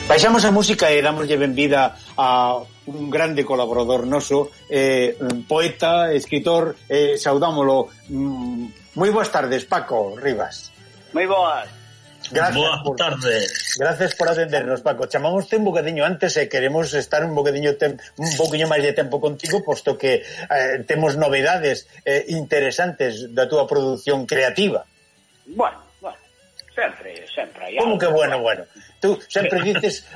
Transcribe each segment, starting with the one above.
Baixamos a música e damoslle benvida a un grande colaborador noso, poeta, escritor, saudámolo. Moi boas tardes, Paco Rivas. Moi boas. Boas tardes. Gracias por atendernos, Paco. Chamámoste un bocadiño antes e queremos estar un poquinho máis de tempo contigo, posto que temos novedades interesantes da túa produción creativa. Bueno, sempre hai algo. Como que bueno? Tú sempre dices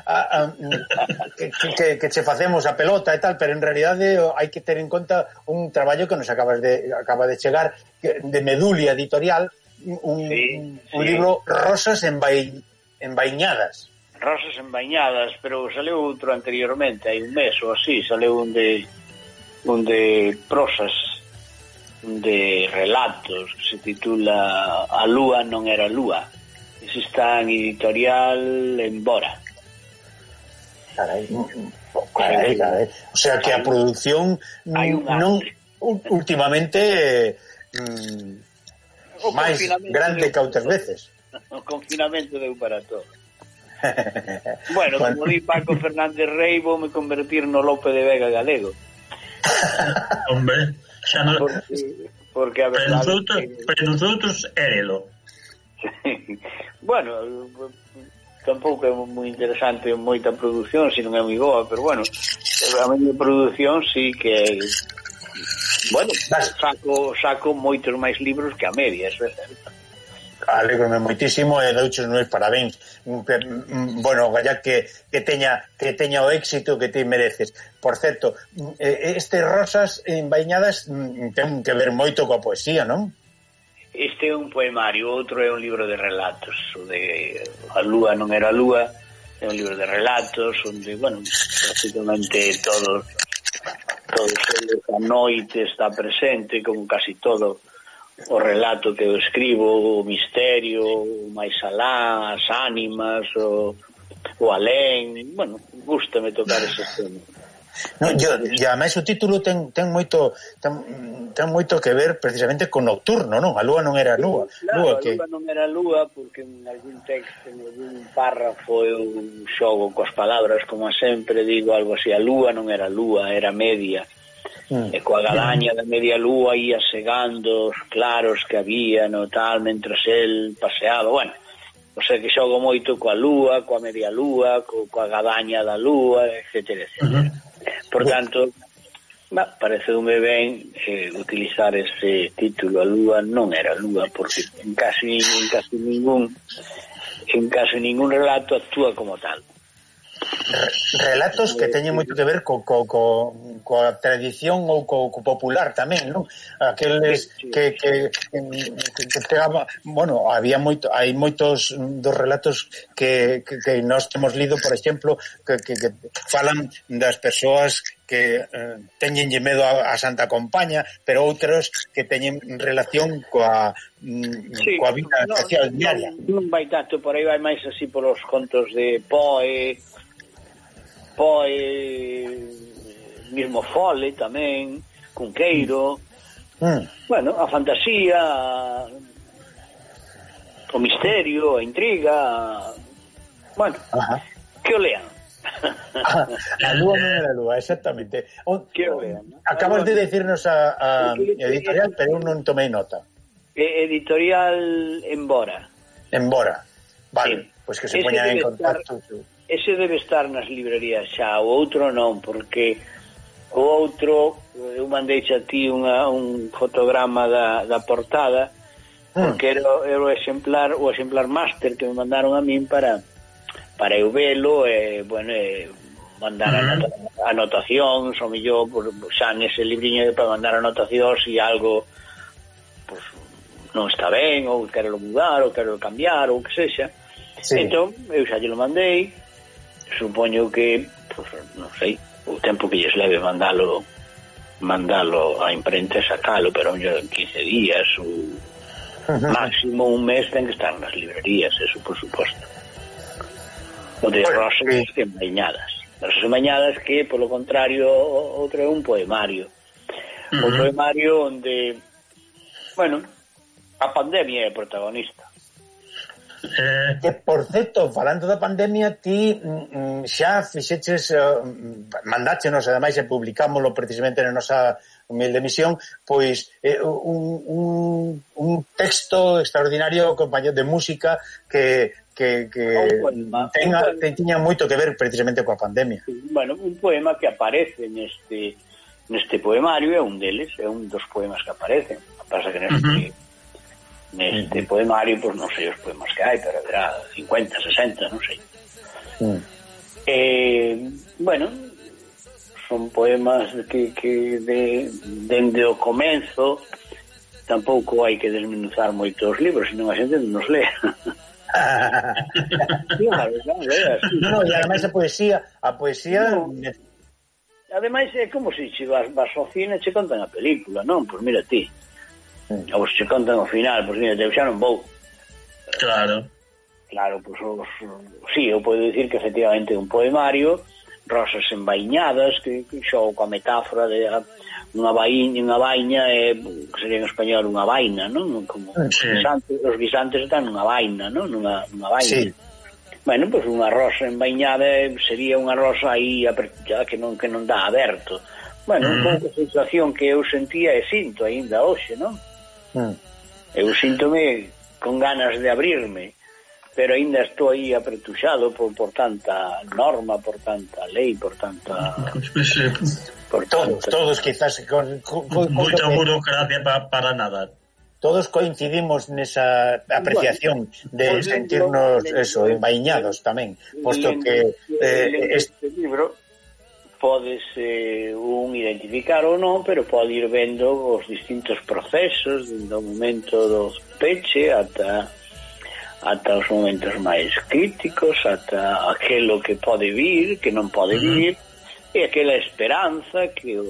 que che facemos a pelota e tal, pero en realidade hai que ter en conta un traballo que nos acaba de chegar de Medulia Editorial, un libro Rosas envainadas. Rosas envainadas, pero saleu outro anteriormente, hai un mes ou así, saleu un de prosas, de relatos, que se titula A lúa non era lúa. Ese está en Editorial Embora. Carai. O sea que a produción non últimamente máis grande que outras veces. O confinamento deu para todo. Bueno, como di Paco Fernández Rey, vou me convertir no Lope de Vega galego. Hombre, xa non... Porque a verdade... Pero nosotros érelo. Bueno, tampouco é moi interesante moita produción, se non é moi boa, pero bueno, a miña produción sí que bueno, saco moitos máis libros que a media, eso é certo. Alégrome moitísimo e douche os meus parabéns. Bueno, galla que teña o éxito que ti mereces. Por certo, este Rosas envainadas ten que ver moito coa poesía, non? Este é un poemario, outro é un libro de relatos. O de A lúa non era lúa é un libro de relatos onde, bueno, prácticamente todos a noite está presente, como casi todo o relato que eu escribo, o misterio, o máis alá, as ánimas, o alén. Bueno, gústame tocar ese tema. No, e ademais o título ten moito que ver precisamente con nocturno, non? A lúa non era lúa. Claro, a lúa non era lúa porque en algún texto, en algún párrafo eu xogo coas palabras, como sempre digo algo así, a lúa non era lúa, era media. E coa gadaña da media lúa ia segando os claros que había no tal, mentres el paseaba, bueno, o sea que xogo moito coa lúa, coa media lúa, coa gadaña da lúa, etcétera, etcétera. Por tanto, pareceume ben utilizar ese título, A lúa non era lúa, porque en casi ningún relato actúa como tal. Relatos que teñen moito que ver coa tradición ou co popular tamén, non? Aqueles que bueno, hai moitos dos relatos que nós temos lido, por exemplo, que falan das persoas que teñenlle medo a Santa Compaña, pero outros que teñen relación coa vida social diaria. Non vai tanto por aí, vai máis así polos contos de Poe, mismo Fole tamén, Cunqueiro, bueno, a fantasía, o misterio, a intriga, bueno, que o lean. A lúa non era lúa, exactamente. Que o lean, ¿no? Acabas de decirnos a editorial, pero eu non tomei nota. Editorial Embora. Vale, pois que se poñan en contacto. Ese debe estar nas librerías xa, o outro non, porque o outro, eu mandei a ti un fotograma da portada, porque era o exemplar máster que me mandaron a min para eu velo, bueno, mandar anotacións, ou mellor, xa nese libriño para mandar anotacións e algo pues, non está ben, ou quero mudar, ou quero cambiar, ou que sexa. Entón, eu xa lle lo mandei. Supoño que, pues, non sei, o tempo que lles leve mandalo a imprenta e sacalo, pero en 15 días ou máximo un mes ten que estar nas librerías, eso por suposto. O de Rosas envainadas. Rosas envainadas que, polo contrario, outro é un poemario. Un poemario onde, bueno, a pandemia é protagonista. Que, por certo, falando da pandemia, ti xa fixeches, mandáchenos, ademais, e publicámoslo precisamente na nosa humilde misión, pois un texto extraordinario, compañero de música, que tiña moito que ver precisamente coa pandemia. Bueno, un poema que aparece neste poemario é un deles, é un dos poemas que aparecen. Pasa que neste poemario, pois non sei os poemas que hai, pero haberá 50, 60, non sei. Bueno, son poemas que dende o comenzo tampouco hai que desmenuzar moito os libros, senón a xente non os lê. Claro, no, e ademais a poesía no. Ademais é como se vas ao cine e che contan a película, non? Pois mira ti, ou se contan ao final, pois mira, eu xa non vou. Claro, pois sí, eu podo dicir que efectivamente un poemario, Rosas envainadas, que xo coa metáfora de unha vaina que sería en español unha vaina, non? Como os guisantes están nunha vaina, non? Nunha vaina. Sí. Bueno, pois unha rosa envainada sería unha rosa aí apertada que non dá aberto. Bueno, un pouco a sensación que eu sentía e sinto aínda hoxe, non? Eu síntome con ganas de abrirme, pero aínda estou aí apretuxado por tanta norma, por tanta lei, por tanta... Por todos quizás con moita burocracia para nada. Todos coincidimos nesa apreciación de sentirnos envainados tamén, posto que este libro podes un identificar ou non, pero pode ir vendo os distintos procesos do momento do peche ata os momentos máis críticos, ata aquelo que pode vir, que non pode vir, e aquela esperanza que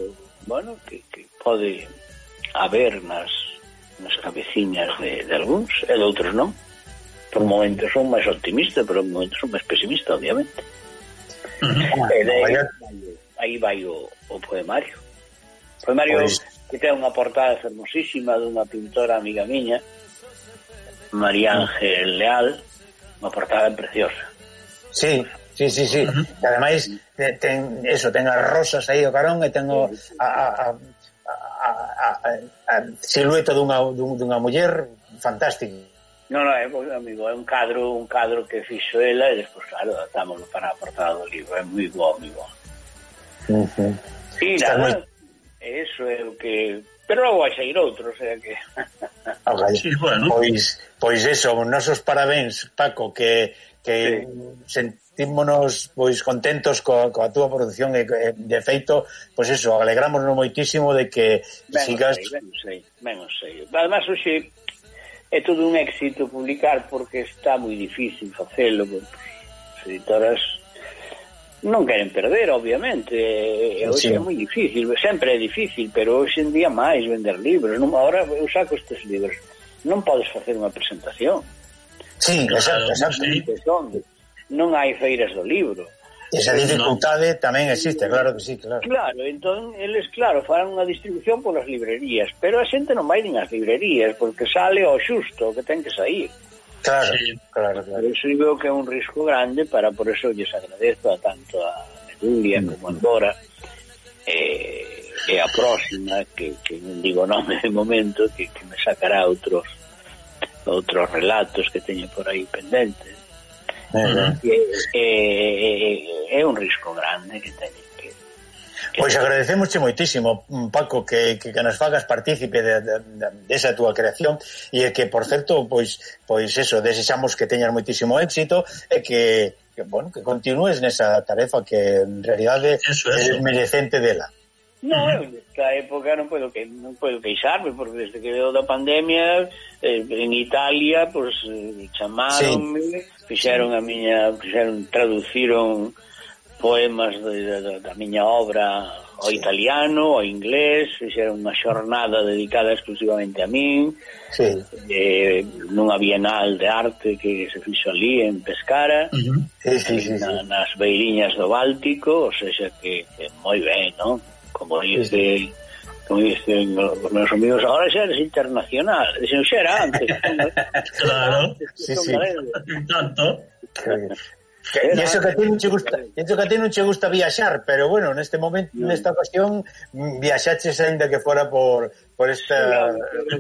pode haber nas cabeciñas de algúns e de outros non. Por momentos son máis optimistas, pero por momentos son máis pesimistas, obviamente. Aí vai o poemario. O poemario que ten unha portada fermosísima dunha pintora amiga miña, María Ángel Leal, unha portada preciosa. Sí. Ademais ten as rosas aí o carón e ten a silueta dunha muller fantástica. Non, amigo, é un cadro que fixo ela e despois, claro, adaptámoslo para a portada do libro. É moi bo, amigo. E nada, eso é o que... Pero logo vai sair outro, o sea que... Sí, bueno. Pois eso, nosos parabéns, Paco, que sentímonos pois contentos coa túa produción e de feito, pois eso, alegrámonos moitísimo de que sigas... Ben sei. Además, hoxe é todo un éxito publicar porque está moi difícil facelo, as editoras non queren perder, obviamente, hoxe é moi difícil, sempre é difícil, pero hoxe en día máis vender libros. Ahora eu saco estes libros, non podes facer unha presentación. Sí, exacto. Non hai feiras do libro. Esa dificultade tamén existe, claro que sí, claro. Claro, entón, eles, fan unha distribución polas librerías, pero a xente non vai nin as librerías, porque sale ao xusto, que ten que sair. Claro, sí. Claro. Eso veo que é un risco grande, por eso lles agradezo tanto a Medulia como a Dora, e a próxima, que non digo nome de momento, que me sacará outros relatos que teño por aí pendentes. É un risco grande que teñen que... Pois agradecemosche moitísimo, Paco, que nos fagas partícipe desa túa creación e que, por certo, pois eso, desexamos que teñas moitísimo éxito e que continúes nesa tarefa que en realidade é merecente dela. Non, nesta época non podo queixarme, porque desde que veo da pandemia en Italia, pois chamaronme, traduciron poemas da miña obra ao italiano, ao inglés, fixeron unha xornada dedicada exclusivamente a min, nunha bienal de arte que se fixo ali en Pescara, nas beiriñas do Báltico, ou seja que moi ben, non? Como dice como dicen os meus amigos, ahora xa eres internacional. Dixen, xa era antes. Claro. Sí. Tanto. E iso que a ti non che gusta viaxar, pero bueno, neste momento, nesta ocasión viaxaches aínda que fora por esta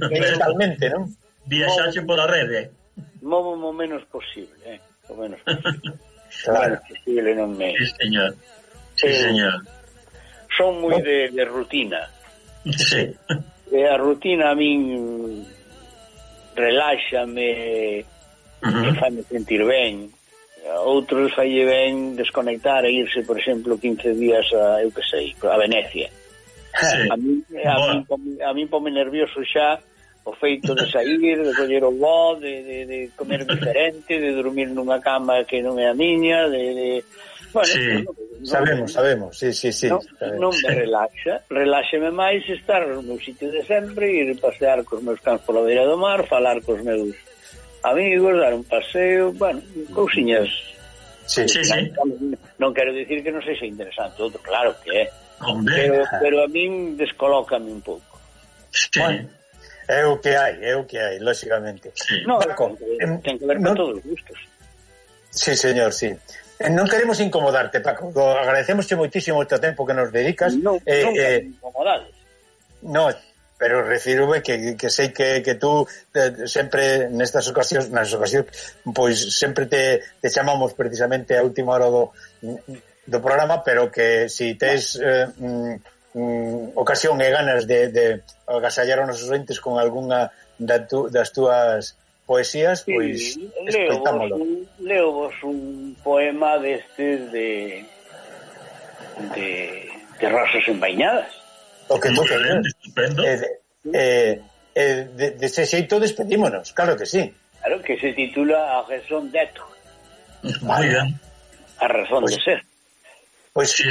digitalmente, non? Viaxaxe pola rede. Movo o menos posible, o menos posible. Claro. Menos posible non me... Sí, señor. Sí, señor. Son moi de rutina. Sí. E a rutina a min reláxame, e faime sentir ben. A outros falle ben desconectar e irse, por exemplo, 15 días a, eu que sei, a Venecia. Sí. A min pome nervioso xa o feito de sair, de coller o voo, de comer diferente, de dormir nunha cama que non é a miña, bueno, sí. Sabemos, sí. Non me reláxame máis estar no meu sitio de sempre, ir pasear cos meus cans pola beira do mar, falar cos meus amigos, dar un paseo, bueno, cousiñas. Sí. Non quero dicir que non sexa interesante, outro, claro que é. Hombre. Pero a min descolócame un pouco. Sí. Bueno, é o que hai, lógicamente. Sí. No, Paco, ten que ver con todos os gustos. Sí, señor, sí. Non queremos incomodarte, Paco. Agradecemosche moitísimo o teu tempo que nos dedicas. Non incomodades. No, pero refírome que sei que tú sempre nas ocasións, pois sempre te chamamos precisamente a última hora do programa, pero que si tes ocasión e ganas de agasallar aos nosos ointes con algunha das túas poesías, pois escoitámolo. Leovos un poema destes de rosas envainadas. O que tú queres. De ese xeito despedímonos, claro que sí. Claro, que se titula A razón d'être. Muy bien. A razón de ser. Pois Sí.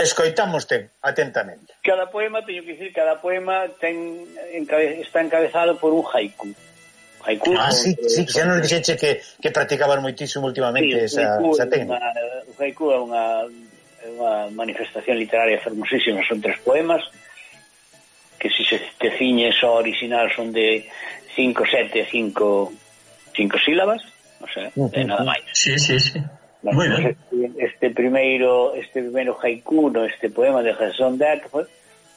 escoitámoste atentamente. Cada poema está encabezado por un haiku. Sí, xa nos dixeche que practicaban moitísimo últimamente esa técnica. O haiku é unha manifestación literaria fermosísima, son 3 poemas que si se te ciñes ao original son de 5, 7, 5 sílabas, o sea, nada máis. Sí. Bueno, Muy bien. Este primeiro haiku, este poema de Jason Deck,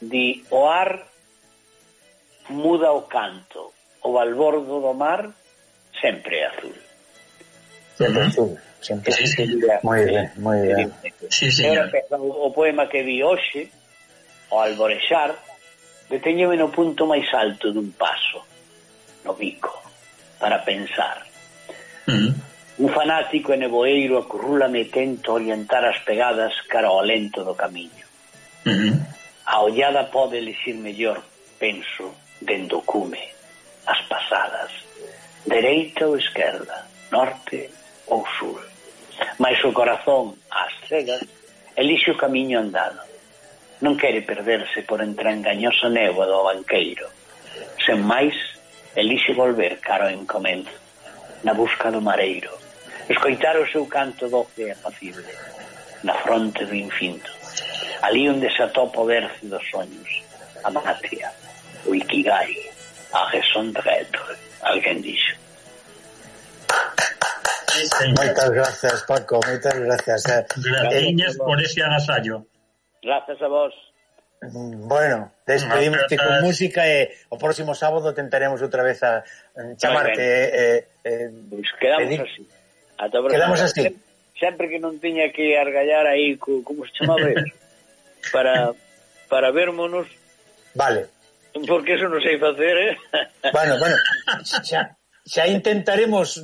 di: o ar muda o canto, o balbordo do mar sempre é azul. Sempre. Sí. Moi ben. Sí, señor. O poema que vi hoxe, o alborexar, deteñeme no punto máis alto dun paso, no bico, para pensar. Un fanático e neboeiro acurrúlame e tento orientar as pegadas cara ao lento do camiño. A ollada pode elixir mellor, penso, dende o cume, as pasadas, dereita ou esquerda, norte ou sur. Mais o corazón, ás cegas, elixe o camiño andado. Non quere perderse por entre a engañosa néboa do banqueiro. Sen máis, elixe volver cara ao encomenzo, na busca do mareiro, escoitar o seu canto doce e apacible, na fronte do infinito, ali onde se atopa o berce dos soños, a matria, o ikigai, a raison d'être, alguén dixo. Moitas gracias, Paco, moitas gracias. Graciñas por ese agasallo. Gracias a vos. Bueno, despedimos con música e o próximo sábado tentaremos outra vez a chamarte. Pois quedamos así. Quedamos así. Sempre que non tiña que argallar aí como se chamaba para vermonos. Vale. Porque eso non sei facer, Bueno, xa intentaremos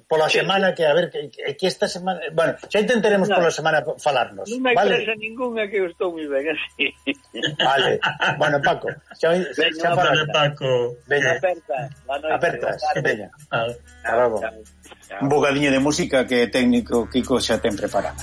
pola semana que a ver que esta semana, bueno, xa intentaremos pola semana falarnos, non me expresa ninguna que eu estou moi ben así. Vale. Bueno, Paco, xa Vale, Paco. Veña. Apertas, veña. Un bocadiño de música que técnico Kiko xa ten preparado.